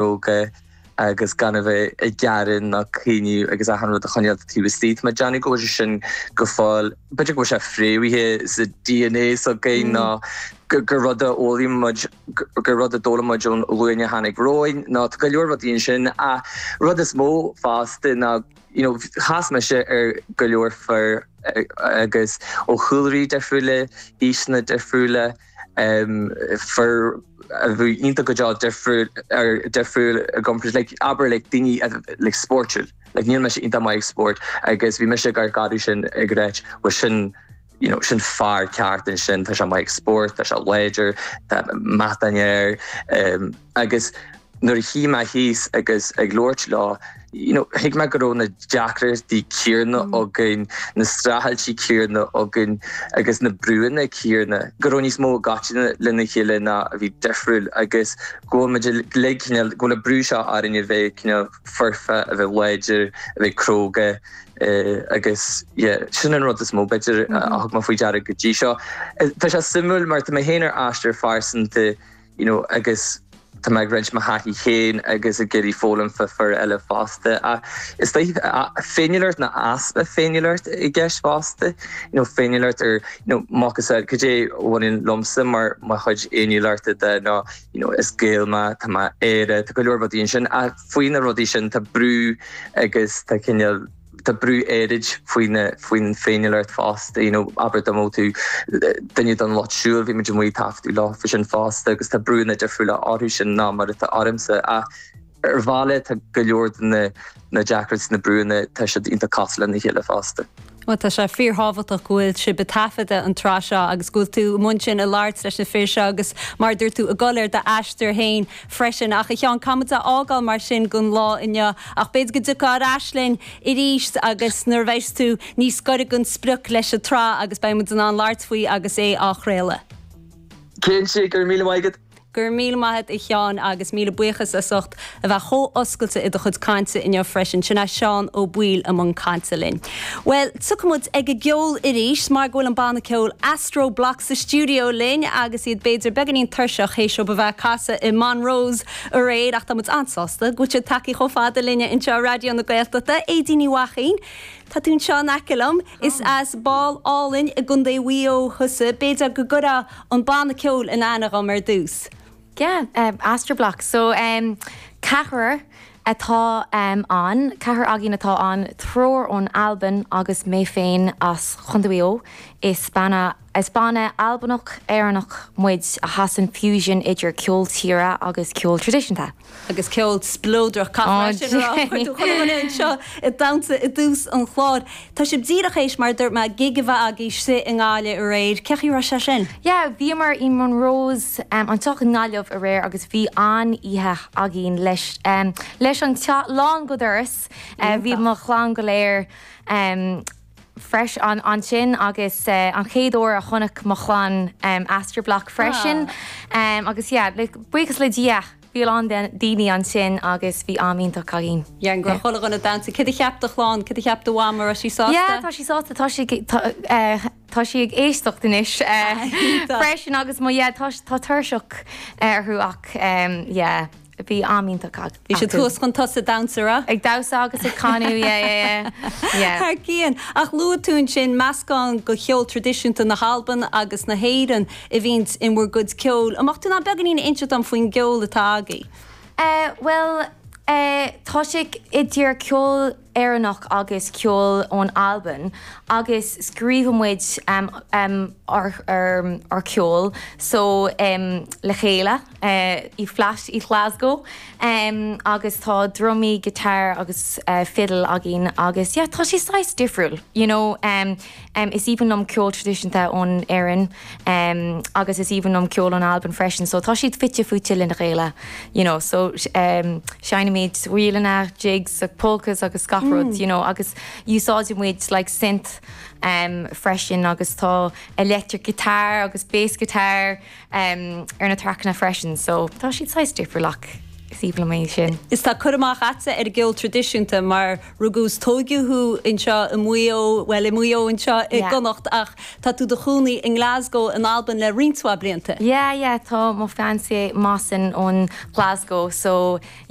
Cróga agus gan a bheith ag gearán ná caoineadh agus achan rud a choinneáil taobh istigh. Tá mé ag déanamh go bhfuil sé sin go fóill, b'fhéidir go bhfuil sé fréamhaithe sa DNA s'againn nó gur rud a fhoghlaim muid, gur rud a d'fhoghlaim muid ón ghlúin a tháinig romhainn nó tá go leor rudaí ansin. Ach rud is mó fosta ná you know chas mise ar go leor fir agus ó chúlraí difriúla, aoiseanna difriúla, fir a bhí iontach go deo difriúil ar difriúil i gcomparáid like abair like daoine like spórtúil like níl mise iontach maith ag spórt agus bhí mise ag amharc orthu sin ag ráit bhuel sin you know sin fear ceart ansin tá sé maith ag spórt tá sé láidir tá meatáin air agus Nuair a shuigh mé thíos agus ag labhairt leo, you know, thuig mé go raibh na deacrachtaí céanna againn, na streachailtí céanna againn agus na brúanna céanna, go raibh níos mó i gcoitinne lena chéile ná a bhí difriúil agus go bhfuil muid uilig cineál, go bhfuil an brú seo orainn a bheith cineál foirfe, a bheith láidir, a bheith cróga agus yeah, sin an rud is mó b'fhéidir a thug mé faoi deara go dtí seo. Tá sé suimiúil mar tá mé féin ar aistear phearsanta, you know, agus tá mé ag roinnt mo thaithí féin agus ag iarraidh foghlaim fá fir eile fosta. Ach is dóigh féiniúlacht nó easpa féiniúlacht i gceist fosta, you know, féiniúlacht ar, you know, macasamhail cad é a bhaineann liomsa mar mo chuid fhéiniúlachta de ná, you know, is Gael mé, tá mé Éire, tá go leor rudaí ansin ach faoi na rudaí sin tá brú agus tá cineál, Tá brú áirid faoin féiniúlacht fosta, you know, abair dá mbeadh tú duine den lucht siúil, bhí muid amuigh ag taifeadadh leo faoi sin fosta agus tá brúanna difriúla orthu sin ná mar atá ormsa. Ach ar bhealach tá go leor de na deacrachtaí, na brúanna, tá siad iontach cosúil lena chéile fosta. Bhuel, tá sé fíorthábhachtach go bhfuil sibh ag taifeadadh an tsraith seo agus go bhfuil tú i mbun sin ag labhairt leis na fir seo agus mar a dúirt tú, ag dul ar d'aistear féin freisin. Ach a Sheáin, caithfidh muid a fhágáil mar sin don lá inniu ach b'fhéidir go dtiocfá ar ais linn arís agus nuair a bheas tú níos gaire don sprioc leis an tsraith agus beidh muid in ann labhairt faoi agus é á chraoladh. Cinnte, go raibh míle maith agat. Go raibh míle maith agat a Sheáin agus míle buíochas as ucht a bheith chomh oscailte i do chuid cainte inniu freisin. Sin é Seán Ó Baoill i mbun cainte linn. Bhuel, tiocfaidh muid ag an gceol arís mar go bhfuil an banna ceoil Astroblock sa stiúideo linn agus iad b'fhéidir beagáinín tuirseach théis dóibh a bheith ag casadh i Monroe's aréir ach tá muid an-sásta go bhfuil siad tagtha chomh fada linne anseo i Raidió na Gaeltachta. Aedín Ní Mhaicín, tá tú anseo in aice liom. Is as Béal Álainn i gContae Mhaigh Eo thusa. B'fhéidir go gcuirfeá an banna ceoil in aithne dhom ar dtús. Yeah, Astroblock. So, ceathrar atá ann, ceathrar againn atá ann, triúr ón Albain agus mé féin as Chontae Mhaigh Eo. Is banna, is banna Albanach Éireannach muid a sheasann fusion idir ceol tíre agus ceol traidisiúnta. Agus ceol spleodrach, caithfidh mé sin a rá, chuir tú chuile dhuine anseo ag damhsa i dtús an chláir. Tá sibh díreach théis, mar a dúirt mé, gig a bheith agaibh istigh i nGaillimh aréir. Cén chaoi a raibh sé sin? Yeah, bhíomar i Monroe's anseo i nGaillimh aréir agus bhí an-oíche againn leis leis an teach lán go doras. Bhí mo chlann go léir freisin ansin agus an chéad uair a chonaic mo chlann Astroblock freisin agus yeah, buíochas le Dia bhí a lán daoine ansin agus bhí am iontach againn. Yeah, go raibh chuile dhuine ag damhsa. Céard a cheap do chlann? Céard a cheap do mham? An raibh sí sásta? Yeah, tá sí sásta. Tá sí tá sí ag éisteacht anois freisin agus mo yeah, tá tá tuirseach orthu ach yeah. Bhí am iontach acu. Bhí siad thuas chun tosaigh ag damhsa, raibh? Ag damhsa agus ag canadh, yeah, yeah, yeah. Yeah. Thar cionn. Ach luaigh tú ansin meascán de cheol traidisiúnta na hAlban agus na hÉireann a bhíonns in bhur gcuid ceoil. An mbeadh tú in ann beagáinín a inseacht dom faoin gceol atá agaibh? Eh, bhuel, eh, tá sé idir ceol Éireannach agus ceol ón Albain agus scríobhann muid ár ceol so le chéile i flat i Glasgow agus tá drumaí, guitar agus fiddle againn agus yeah tá sé saghas difriúil you know. Is aoibhinn liom ceol traidisiúnta ón Éirinn agus is aoibhinn liom ceol ón Albain freisin so tá siad fite fuaite lena chéile you know so seinnimid ríleanna, jigs, polkas agus gach rud you know agus úsáideann muid like synth freisin agus tá electric guitar agus bass guitar ar na traiceanna freisin so tá siad saghas difriúil ach. Is aoibhinn liom é sin. Is tá cur amach a'dsa ar an gceol traidisiúnta mar rugadh is tóigeadh thú anseo i Maigh Eo, bhuel i Maigh Eo anseo i gConnacht ach tá tú i do chónaí i nGlasgow in Albain le roinnt mhaith blianta. Yeah, yeah, tá mo fiancé Mossin ón Glasgow so yeah.